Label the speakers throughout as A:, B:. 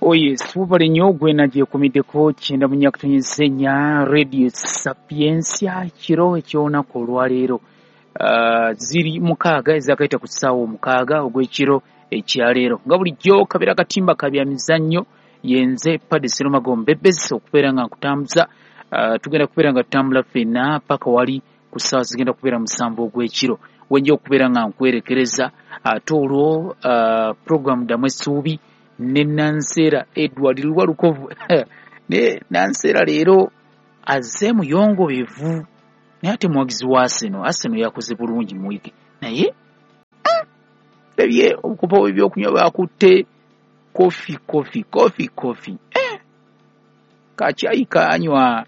A: Oye, webale nnyo gwena gyekumiddeko 94.4 Radio Sapientia kiro eky'olunaku olwaleero. Ziri 6 ezakayita ku ssaawa 6 ogw'ekiro ekyaleero. Nga bulijjo kabeera katimba ka bya mizannyo, yenze Paddy Serumago Mbebezi okubeera nga nkutambuza. Tugenda kubeera nga tutambula ffenna paka wali ku ssaawa zigenda kubeera 7 ogw'ekiro. Wenja okubeera nga nkwerekereza ate olwo program ddamu essuubi ne Nanseera Edward Lwalukovu. Ne Nanseera leero azze muyongobevu, naye ate muwagizi wa Arsenal. Arsenal yakoze bulungi mu wiiki, naye ebye obukopo bw'ebyokunywa bwakutte kofi kofi kofi kofi, kakyayi kanywa.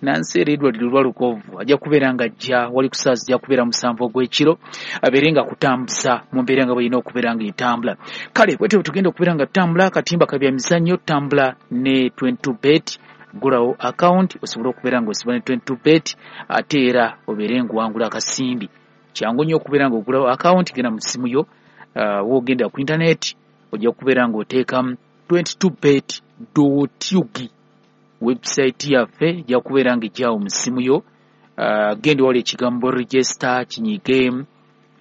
A: Nanseera Edward Lwalukovu ajja kubeera nga ajja wali ku ssaawa zijja kubeera 7 ogw'ekiro, abeere nga akutambuza mu mbeera nga bw'erina okubeera nga etambula. Kale bwetyo tugenda okubeera nga tutambula akatimba ka bya mizannyo, tutambula ne 22 bet. Ggulawo account osobole okubeera ng'osiba ne 22 bet, ate era obeere ng'owangula akasimbi. Kyangu nnyo okubeera ng'ogulawo account, genda mu ssimu yo, w'ogenda ku internet ojja kubeera ng'oteekamu 22bet.ug. Website yaffe ejja kubeera ng'ejjaawo mu ssimu yo. Genda wali ekigambo register, kinyige,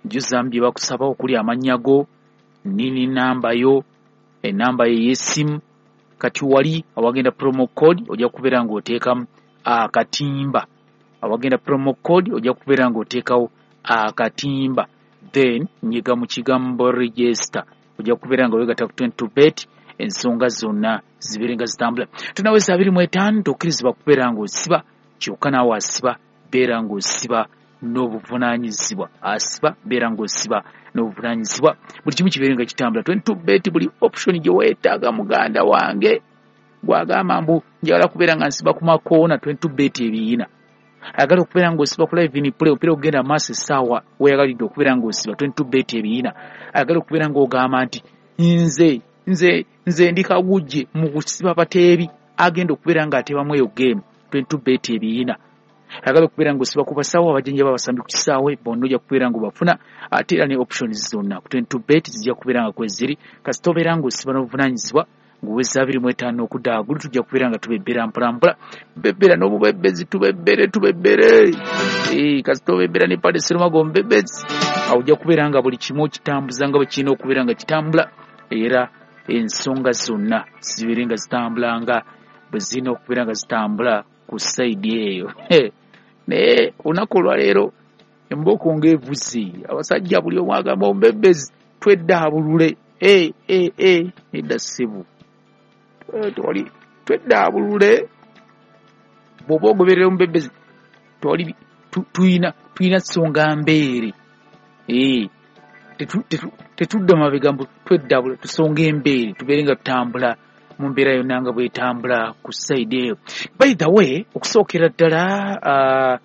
A: jjuzaamu bye bakusaba okuli amannya go, nini namba yo, enamba yo ey'essimu. Kati wali awagenda promo code ojja kubeera ng'oteekamu akatimba. Awagenda promo code ojja kubeera ng'oteekawo akatimba, then nyiga mu kigambo register, ojja kubeera nga weegatta ku 22 bet, ensonga zonna zibeere nga zitambula. Tunaweza 25, tokkirizibwa kubeera ng'osiba kyokka, naawe asiba beera ng'osiba n'obuvunaanyizibwa, asiba beera ng'osiba n'obuvunaanyizibwa, buli kimu kibeere nga kitambula. 22 bet, buli option gye weetaaga muganda wange. Gwagamba mbu njagala kubeera nga nsiba ku makoona, 22 bet ebiyina. Ayagala okubeera ng'osiba ku live in play, omupiira ogenda maaso essaawa weeyagalidde okubeera ng'osiba, 22 bet ebiyina. Ayagala okubeera ng'ogamba nti nze nze nze ndi kagujje mu kusiba bateebi, agenda okubeera ng'ateebamu eyo game, 22 bet ebiyina. Ayagala okubeera ng'osiba ku basawo abajjanjaba abasambi ku kisaawe, bonna ojja kubeera ng'obafuna, ate era ne options zonna ku 22 bet zijja kubeera nga kweziri. Kasita obeera ng'osiba n'obuvunaanyizibwa ng'oweza 25 okudda waggulu, tujja kubeera nga tubebbera mpolampola, bebbera n'obubebbezi, tubebbere tubebbere. Kasita obebbera ne Paddy Serumago Mbebezi, awo ojja kubeera nga buli kimu okitambuza nga bwe kirina okubeera nga kitambula, era ensonga zonna zibeere nga zitambula nga bwe zirina okubeera nga zitambula ku sayidi eyo. Naye olunaku olwaleero embooko ng'evuze, abasajja buli omu agamba omubebbezi tweddaabulule. Nedda ssebo, tewali tweddaabulule. Bw'oba ogoberera omubebbezi tewali, tulina ssonga mbeere. Tetudda mabega mbu tweddaabula, tusonga embeere tubeere nga tutambula mu mbeera yonna nga bwetambula ku sayidi eyo. By the way, okusookera ddala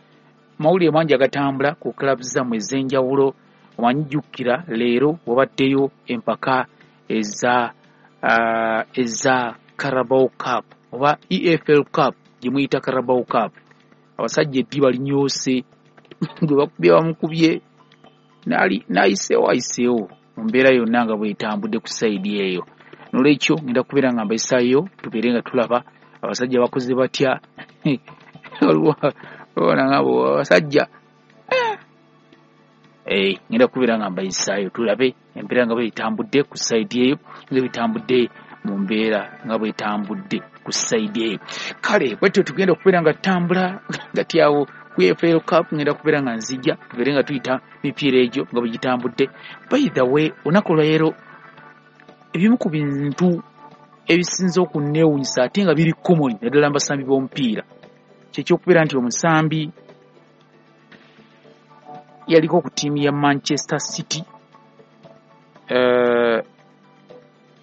A: mawulire mangi agatambula ku club zammwe ez'enjawulo. Omanyi jjukira leero wabaddeyo empaka eza Carabao Cup oba EFL Cup gye muyita Carabao Cup. Abasajja eddiba linyoose, gwe bakubye bamukubye, n'ayiseewo ayiseewo mu mbeera yonna nga bwetambudde ku sayidi eyo. Nolwekyo ngenda kubeera nga mbayisaayo tubeere nga tulaba abasajja bakoze batya. Abasajja ngenda kubeera nga mbayisaayo tulabe embeera nga bwetambudde ku sayidi eyo, nga bwetambudde mu mbeera nga bwetambudde ku sayidi eyo. Kale bwetyo tugenda okubeera nga tutambula nga tyawo ku EFL Cup, ngenda kubeera nga nzija tubeere nga tuyita mipiira egyo nga bwe gitambudde. By the way, olunaku olwaleero ebimu ku bintu ebisinze okunneewuunyisa ate nga biri common naddala mu basambi b'omupiira kyekyokubeera nti omusambi yaliko ku ttiimu ya Manchester City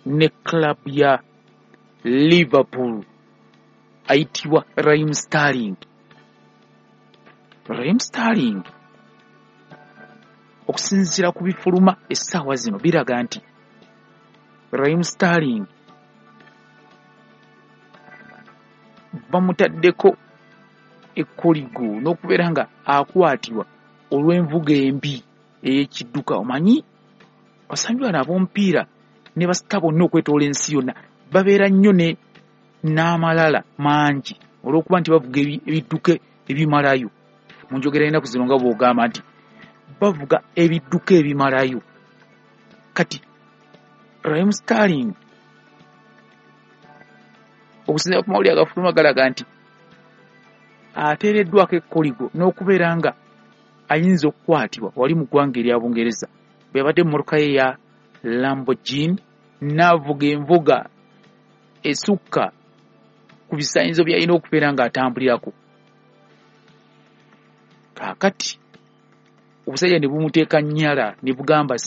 A: ne club ya Liverpool ayitibwa Raheem Sterling. Raheem Sterling okusinziira ku bifuluma essaawa zino biraga nti Raheem Sterling bamutaddeko ekkoligo n'okubeera nga akwatibwa olw'envuga embi ey'ekidduka. Omanyi abasambi bano ab'omupiira ne basita bonna okwetoola ensi yonna Babeera nnyo ne n'amalala mangi olw'okuba nti bavuga ebidduka ebimalayo. Mu njogera y'ennaku zino nga bw'ogamba nti bavuga ebidduka ebimalayo. Kati Raheem Sterling, okusinziira ku mawulire agafuluma, galaga nti ateereddwako ekkoligo n'okubeera nga ayinza okukwatibwa wali mu ggwanga erya Bungereza bwe yabadde mu mmotoka ye ya Lamborghini n'avuga envuga esukka ku bisaanyizo by'alina okubeera ng'atambulirako. Kaakati obusajja ne bumuteeka nnyala ne bugamba